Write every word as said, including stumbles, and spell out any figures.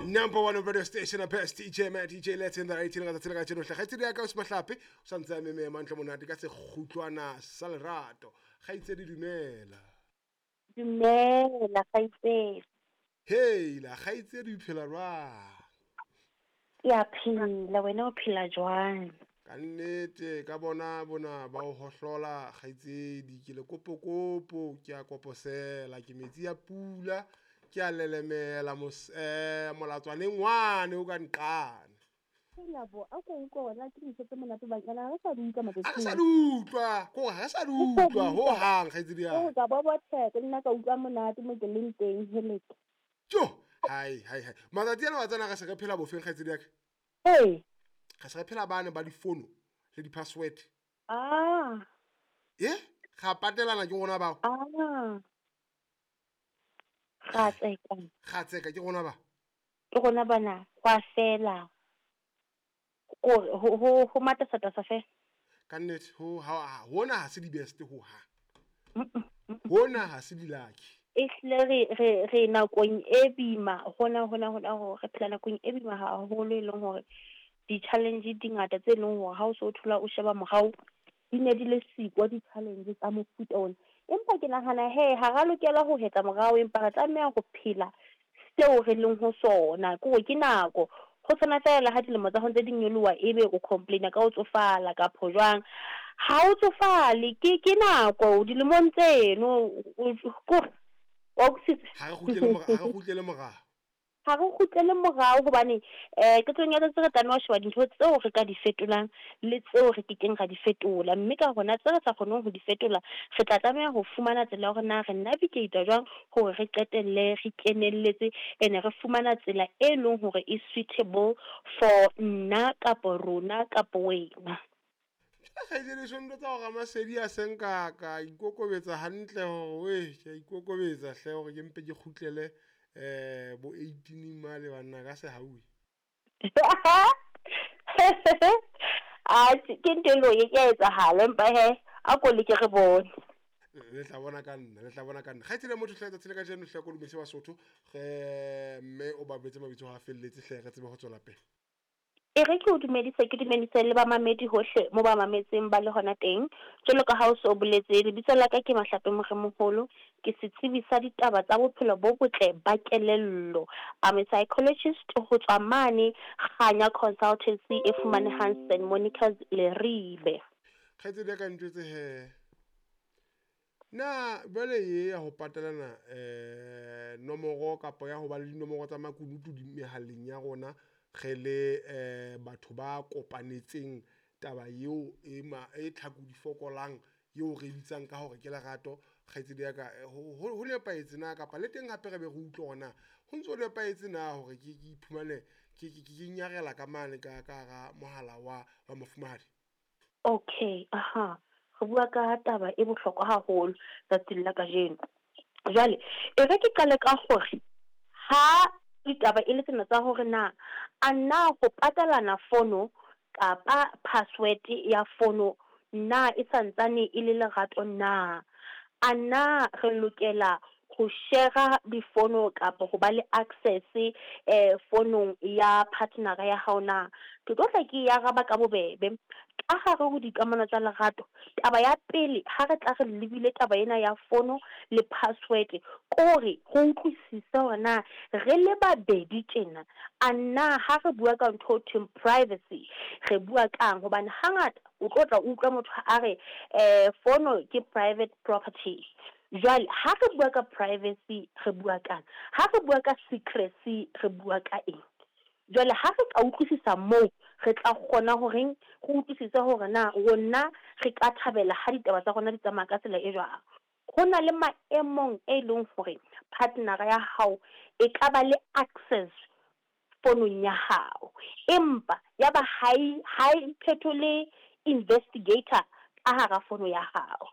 Number one radio station, best D J man, D J Let's in the eighteen ka tsela ka tjeno hle. Kgaitsedi ya ka o Mahlape o santse a meme mantle monate ka sekgutlwana sa lerato. Kgaitsedi, dumela. Dumela, kgaitsedi. Hey la, kgaitsedi, o phela jwang? Ke a phela, wena o phela jwang? Ka nnete ka bona bona ba o hohlola, kgaitsedi. Ke le kopokopo, ke a koposela, ke metsi ya pula, ke a lelemela mos eh molatswaneng wane o ka nqane. Hela bo, a ko utlwe wena, ke dintho tse monate banyana ha re sa di utlwa Ha re matsatsing sa ana. Di utlwa kore ha re sa di utlwa ho hang, kgaitsedi ya Ke ka bobotheka le nna ka utlwa monate mo ke leng teng, heleke. Jo, hai hai hai, matsatsi ana wa tsena re se re phela bofeng, kgaitsedi ya ka? Ee. Re se re phela bane ba difono le di-password. Ah. E ga patelana ke rona bao. Ah. Ga tseka. Ga tseka ke rona ba. Ke rona bana, gwa fela. Kore ho ho ho matasatasa fela. Ka nnete ho ha hona ha se di-best ho hang, hona ha se di-lucky. Ehlile re re re nakong e boima hona hona hona hore re phela nakong e boima haholo, e leng hore di-challenge di ngata tse leng hore ha o so thola o sheba morao di ne di le siko di-challenge tsa mofuta ona. Empa ke nahana he ha ra lokela ho hetla morao, empa re tlameha ho phela seo re leng ho sona. Ke hore ke nako ho tshwana fela le ha dilemo tsa hao ntse di nyoloha, ebe o complain-a ka ho tsofala kapo jwang. Ha o tsofale, ke ke nako dilemong tseno kore wa utlwisisa. Ha re kgutlele mora, ha re kgutlele morao. Ha re kgutlele morao hobane um qetellong ya tsatsi re tlameha ho sheba dintho tseo re ka di fetolang le tseo re kekeng ra di fetola, mme ka hona tse re sa kgoneng ho di fetola re tla tlameha ho fumana tsela ya hore na re navigate jwang hore re qetelle re kenelletse ene re fumana tsela e leng hore e suitable for nna kapo rona kapo wena. Kgaitsedi, ntho tsa hore Ramasedi a seng ka ka ikokobetsa hantle hore we ke a ikokobetsa hle hore ke mpe ke kgutlele um bo eighteen male banna ka sehauwe. Atjhe, ke ntho e leng hore e ke a etsahala, empa he a ko leke re bone. Le tla bona ka nna, le tla bona ka nna, kgaitsedi ya motho hle. Tsatsi le ka jeno hle ko dumese Basotho re mme o ba betse mabitso ha felletse hle, re tsebe ho tswela pele. E re ke o dumedise, ke dumedise le bamamedi hohle mo ba mametseng ba le hona teng. Jwalo ka ha o so boletse, lebitso la ka ke Mahlape Moremoholo, ke setsebi sa ditaba tsa bophelo bo botle ba kelello. I'm a psychologist ho tswa mane Kganya Consultancy e fumanehang Saint Monica's Leribe. Kgaitsedi ya ka, ntjwetse he na jwale e ya ho patalana um nomoro kapa ya ho ba le dinomoro tsa makunutu di mehaleng ya rona re le um batho ba kopanetseng taba eo e ma e tlhaku di fokolang eo re bitsang ka hore ke lerato, kgaitsedi ya ka, ho ho nepahetse na? Kapa le teng hape re be re utlwe hore na ho ntso nepahetse na hore ke ke iphumane ke ke ke nyarela ka mane ka ka hara mohala wa wa mofumahadi? Okay, aha, re bua ka taba e bohlokwa haholo tsatsing la kajeno. Jwale e re ke qale ka hore ha ditaba e le tsena tsa hore na a na ho patalana fono kapa password ya fono na e santsane e le lerato na, a na re lokela ho share difono kapa ho ba le access eh fonong ya partner ya hao na, ke tlo tla ke e araba ka bobebe. Ka hare ho dikamano tsa lerato, taba ya pele ha re tla re lebile taba ena ya fono le password, kore re utlwisise hore na re le babedi tjena a na ha re bua ka ntho ho thweng privacy re bua kang, hobane hangata o tlo tla utlwa motho a re um fono ke private property. Jwale ha re bua ka privacy re bua kang? Ha re bua ka secrecy re bua ka eng? Jwale ha re ka utlwisisa moo, re tla kgona horeng re utlwisise hore na rona re ka thabela ha ditaba tsa rona di tsamaya ka tsela e jwang. Ho na le maemong e leng hore partner ya hao e ka ba le access fonong ya hao, empa ya ba ha e ha e phetole investigator ka hara fono ya hao.